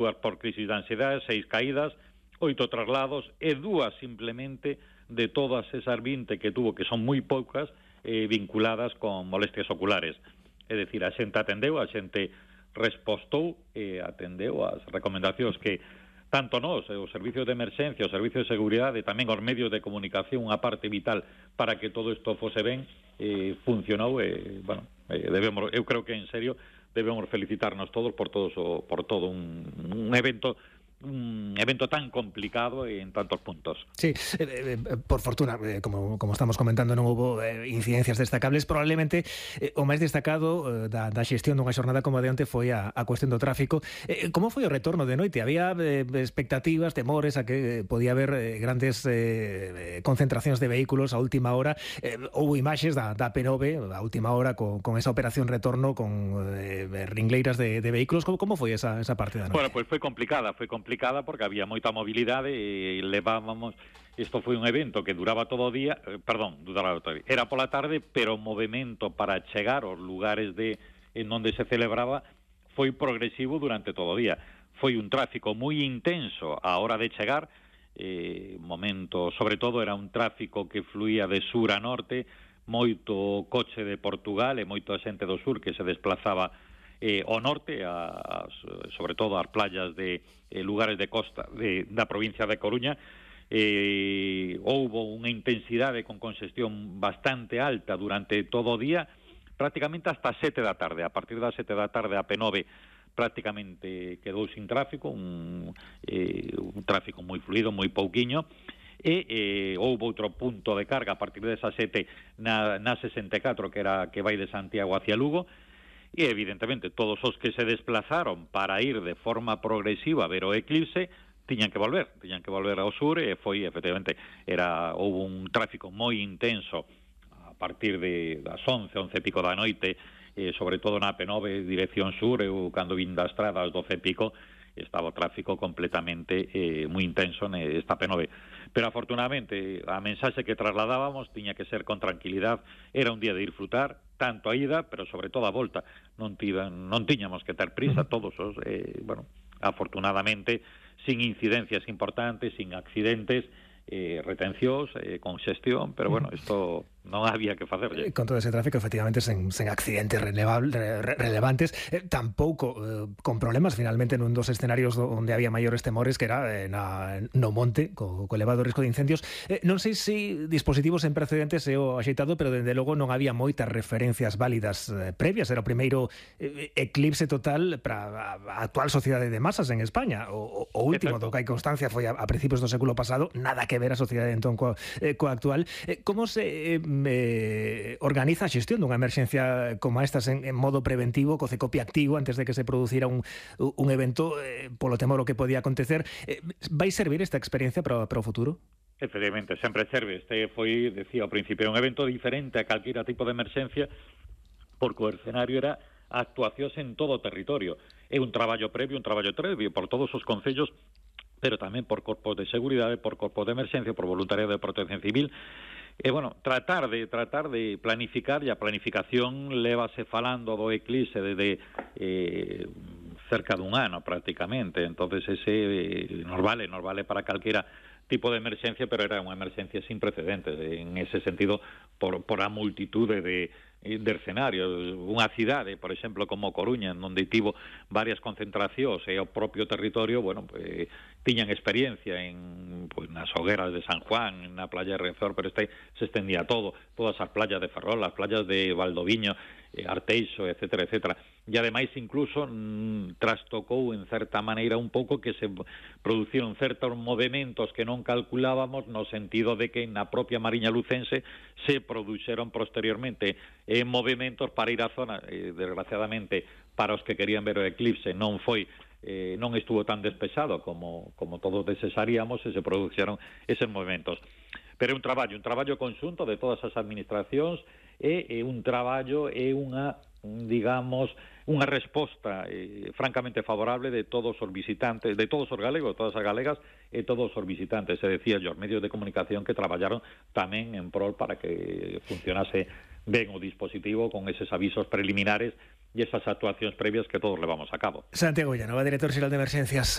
2 por crisis de ansiedade, 6 caídas, 8 traslados e 2 simplemente de todas esas 20 que tuvo, que son moi poucas, vinculadas con molestias oculares. É dicir, a xente atendeu, a xente respostou e atendeu as recomendacións que tanto nós, os servicios de emerxencia, os servicios de seguridade, tamén os medios de comunicación, unha parte vital para que todo isto fose ben, funcionou e, bueno, eu creo que en serio debemos felicitarnos todos por todo un evento tan complicado en tantos puntos. Sí, por fortuna, como estamos comentando, non houve incidencias destacables. Probablemente o máis destacado da xestión dunha xornada como a de onte foi a cuestión do tráfico. Como foi o retorno de noite? Había expectativas, temores a que podía haber grandes concentracións de vehículos a última hora. Houve imaxes da P9 a última hora con esa operación retorno con ringleiras de vehículos. Como foi esa parte da noite? Bueno, pois foi complicada porque había moita mobilidade e levábamos... Isto foi un evento que duraba todo o día, era pola tarde, pero o movimento para chegar aos lugares en onde se celebraba foi progresivo durante todo o día. Foi un tráfico moi intenso á hora de chegar, sobre todo era un tráfico que fluía de sur a norte, moito coche de Portugal e moita xente do sur que se desplazaba ao norte, sobre todo ás playas de lugares de costa da provincia de Coruña. Houbo unha intensidade con congestión bastante alta durante todo o día, prácticamente hasta 7 da tarde. A partir das 7 da tarde a P9 prácticamente quedou sin tráfico, un tráfico moi fluido, moi pouquiño, e houve outro punto de carga a partir desa 7 na 64, que vai de Santiago hacia Lugo. E, evidentemente, todos os que se desplazaron para ir de forma progresiva a ver o eclipse tiñan que volver ao sur e foi, efectivamente, houve un tráfico moi intenso a partir das 11 e pico da noite, sobre todo na P9, dirección sur. Eu, cando vin da estrada ás 12 e pico, estaba o tráfico completamente moi intenso nesta P9. Pero, afortunadamente, a mensaxe que trasladábamos tiña que ser con tranquilidade. Era un día de disfrutar, tanto a ida, pero sobre todo a volta. Non tiñamos que ter prisa todos os, afortunadamente, sin incidencias importantes, sin accidentes, retencións, congestión, pero bueno, isto non había que facerlle. Con todo ese tráfico, efectivamente, sen accidentes relevantes, tampouco con problemas, finalmente, nun dos escenarios onde había maiores temores, que era no monte, co elevado risco de incendios. Non sei se dispositivos en precedentes é o axeitado, pero, dende logo, non había moitas referencias válidas previas. Era o primeiro eclipse total para a actual sociedade de masas en España. O último do que hai constancia foi a principios do século pasado, nada que ver a sociedade entón coa actual. Como se organiza a xestión dunha emerxencia como estas en modo preventivo, co CECOPI activo antes de que se producira un evento, polo temor o que podía acontecer? Vai servir esta experiencia para o futuro? Efectivamente, sempre serve. Este foi, decía ao principio, un evento diferente a calquera tipo de emerxencia, porque o escenario era actuacións en todo o territorio. É un traballo previo por todos os concellos, pero tamén por corpos de seguridade, por corpos de emerxencia, por voluntariado de protección civil. E, tratar de planificar, e a planificación lévase falando do eclipse desde cerca dun ano prácticamente. Entonces ese nos vale para calquera tipo de emerxencia, pero era unha emerxencia sin precedentes en ese sentido, por a multitude de escenarios. Unha cidade, por exemplo, como Coruña, onde tivo varias concentracións e o propio territorio, tiñan experiencia nas hogueras de San Juan, na playa de Rezor, pero se extendía todas as playas de Ferrol, as playas de Valdoviño, Arteixo, etcétera, etcétera. E ademais incluso trastocou en certa maneira un pouco que se produciron certos movimentos que non calculábamos, no sentido de que na propia Mariña Lucense se produxeron posteriormente movimentos para ir á zona. Desgraciadamente, para os que querían ver o eclipse non estuvo tan despexado como todos desearíamos, e se produxeron eses movimentos. Pero é un traballo conxunto de todas as administracións, e un traballo e unha resposta francamente favorable de todos os visitantes, de todos os galegos, todas as galegas e todos os visitantes. Se decía, os medios de comunicación que traballaron tamén en prol para que funcionase ben o dispositivo, con eses avisos preliminares e esas actuacións previas que todos levamos a cabo. Santiago Villanova, director xeral de Emerxencias.